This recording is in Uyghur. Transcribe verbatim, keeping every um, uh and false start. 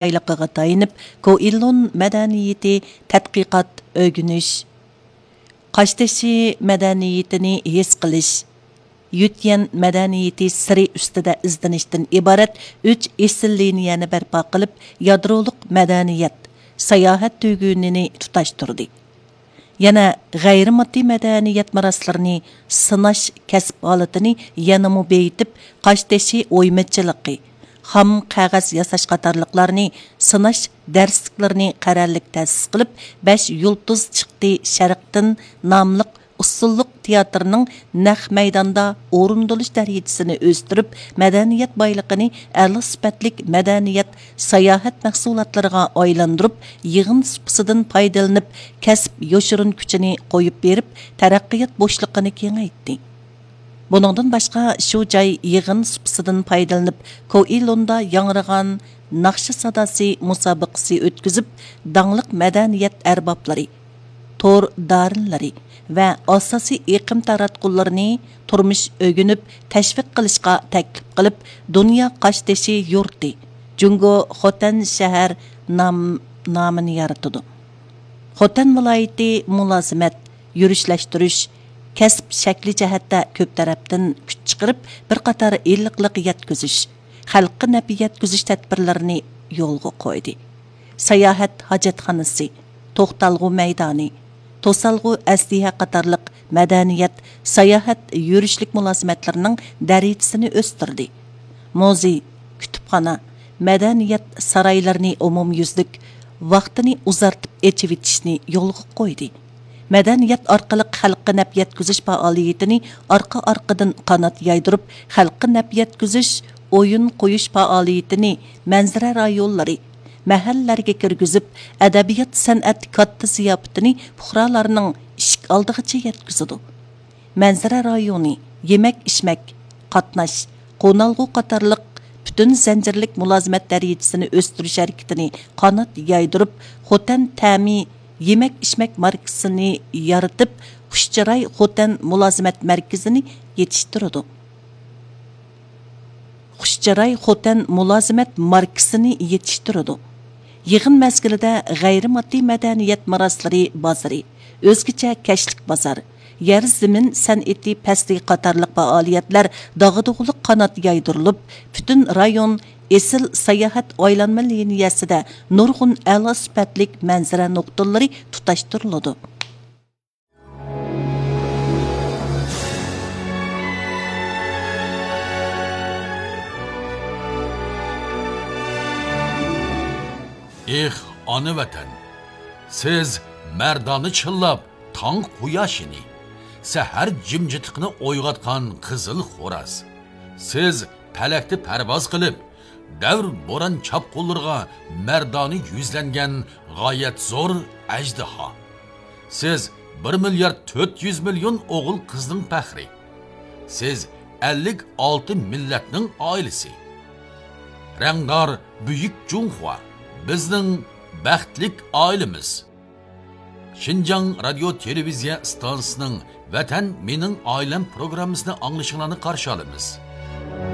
بايلىقىغا تايىنىپ، كوئىلون مەدەنىيىتى تەتقىقات، ئۆگىنىش، قاشتېشى مەدەنىيىتىنى ھېس قىلىش، يۈتيەن مەدەنىيىتى سىرى ئۈستىدە ئىزدىنىشتىن ئىبارەت ئۈچ ئېسىل لىنىيەنى بەرپا قىلىپ، يادرولۇق مەدەنىيەت، ساياھەت تۈگۈنىنى تۇتاشتۇردى. يەنە غەيرىي ماددىي مەدەنىيەت مىراسلىرىنى سىناش كەسىپ ھالىتىنى يەنىمۇ بېيىتىپ، قاشتېشى ئويمىچىلىقى، خام قەغەز ياساش قاتارلىقلارنى سىناش دەرسلىكلىرىنى قەرەللىك تەسىس قىلىپ، بەش يۇلتۇز چىقتى شەرقتىن ناملىق ئۇسسۇللۇق تىياتىرنىڭ نەق مەيداندا ئورۇندىلىش دەرىجىسىنى ئۆستۈرۈپ، مەدەنىيەت بايلىقىنى ئەلا سۈپەتلىك مەدەنىيەت، ساياھەت مەھسۇلاتلىرىغا ئايلاندۇرۇپ، يىغىن سۇپىسىدىن پايدىلىنىپ، كەسىپ يوشۇرۇن كۈچىنى قويۇپ بېرىپ، تەرەققىيات بوشلۇقىنى كېڭەيتتى. بۇنىڭدىن باشقا، شۇ جاي يىغىن سۇپىسىدىن پايدىلىنىپ، كوئىلوندا ياڭرىغان ناخشا ساداسى مۇسابىقىسى ئۆتكۈزۈپ، داڭلىق مەدەنىيەت ئەربابلىرى، تور دارىنلىرى ۋە ئاساسىي ئېقىم تاراتقۇلىرىنى تۇرمۇش ئۆگىنىپ، تەشۋىق قىلىشقا تەكلىپ قىلىپ، دۇنيا قاشتېشى يۇرتى، جۇڭگو خوتەن شەھەر نام-، نامىنى يارىتىدۇ. خوتەن ۋىلايىتى مۇلازىمەت، يۈرۈشلەشتۈرۈش، كەسىپ شەكلى جەھەتتە كۆپ تەرەپتىن كۈچ چىقىرىپ، بىر قاتار ئىللىقلىق يەتكۈزۈش، خەلققە نەپ يەتكۈزۈش تەدبىرلىرىنى يولغا قويدى. ساياھەت ھاجەتخانىسى، توختالغۇ مەيدانى، توسالغۇ ئەسلىھە قاتارلىق مەدەنىيەت، ساياھەت، يۈرۈشلۈك مۇلازىمەتلىرىنىڭ دەرىجىسىنى ئۆستۈردى. مۇزېي، كۇتۇپخانا، مەدەنىيەت سارايلىرىنى ئومۇميۈزلۈك، ۋاقتىنى ئۇزارتىپ ئېچىۋېتىشنى يولغا قويدى. مەدەنىيەت ئارقىلىق خەلققە نەپ يەتكۈزۈش پائالىيىتىنى ئارقا-ئارقىدىن قانات يايدۇرۇپ، خەلققە نەپ يەتكۈزۈش، ئويۇن قويۇش پائالىيىتىنى مەنزىرە رايونلىرى، مەھەللىلەرگە كىرگۈزۈپ، ئەدەبىيات-سەنئەت كاتتا زىياپىتىنى پۇقرالارنىڭ ئىشىك ئالدىغىچە يەتكۈزىدۇ. مەنزىرە رايونى، يېمەك-ئىچمەك، قاتناش، قونالغۇ قاتارلىق پۈتۈن زەنجىرلىك مۇلازىمەت دەرىجىسىنى ئۆستۈرۈش ھەرىكىتىنى قانات يايدۇرۇپ، خوتەن تەمى يېمەك-ئىچمەك ماركىسىنى يارىتىپ، خۇش چىراي خوتەن مۇلازىمەت مەركىزىنى يېتىشتۈرىدۇ. خۇش چىراي خوتەن مۇلازىمەت ماركىسىنى يېتىشتۈرىدۇ. يىغىن مەزگىلىدە غەيرىي ماددىي مەدەنىيەت مىراسلىرى بازىرى، ئۆزگىچە كەچلىك بازار، يەر زېمىن سەنئىتى پەسلىكى قاتارلىق پائالىيەتلەر داغدۇغىلىق قانات يايدۇرۇلۇپ، پۈتۈن رايون ئېسىل ساياھەت ئايلانما لىنىيەسىدە نۇرغۇن ئەلا سۈپەتلىك مەنزىرە نۇقتىلىرى تۇتاشتۇرۇلىدۇ. ئېھ، ئانا ۋەتەن! سىز مەردانە چىللاپ تاڭ قۇياشىنى، سەھەر جىمجىتلىقىنى ئويغاتقان قىزىل خوراز. سىز پەلەكتە پەرۋاز قىلىپ، دەۋر بوران چاپقۇنلىرىغا مەردانە يۈزلەنگەن غايەت زور ئەجدىھا. سىز بىر مىليارد تۆت يۈز مىليون ئوغۇل قىزنىڭ پەخرى. سىز ئەللىك ئالتە مىللەتنىڭ ئائىلىسى. رەڭدار بۈيۈك جۇڭخۇا، بىزنىڭ بەختلىك ئائىلىمىز. شىنجاڭ رادىيو تېلېۋىزىيە ئىستانسىسىنىڭ ۋەتەن مېنىڭ ئائىلەم پروگراممىسىنى ئاڭلىشىڭلارنى قارشى ئالىمىز.